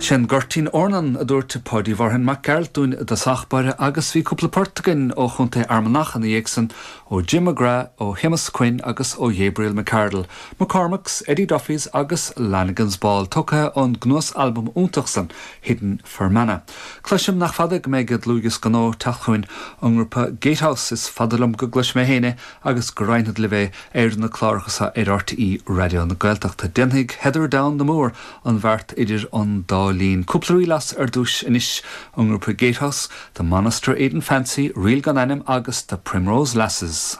Sé'n Goirtín Eornan, a dúirt Páidí Mhárthain Mac Gearailt dúinn i dtosach báire agus bhí cúpla port againn ó Chontae Fhear Manach ina dhiaidh san, ó Jim McGrath, ó Shéamus Quinn agus ó Ghabriel McArdle, McCormack's, Eddie Duffy's agus Lanigan's Ball, tógtha ón gcnuas-albam iontach san, Hidden Fermanagh. Cloisim nach fada go mbeidh dlúthdhiosca nua ag teacht chugainn ón ngrúpa Gatehouse, is fada liom go gcloisfidh mé féin é agus go roinnfead libh é ar na cláracha seo ar RTÉ Raidió na Gaeltachta. Déanfaidh Heather Down the Moor an bheart idir an dá linn. Cúpla ríl as ar dtúis anois ón ngrúpa Gatehouse, The Monaster Eden Fancy, Ríl gan Ainm agus The Primrose Lasses.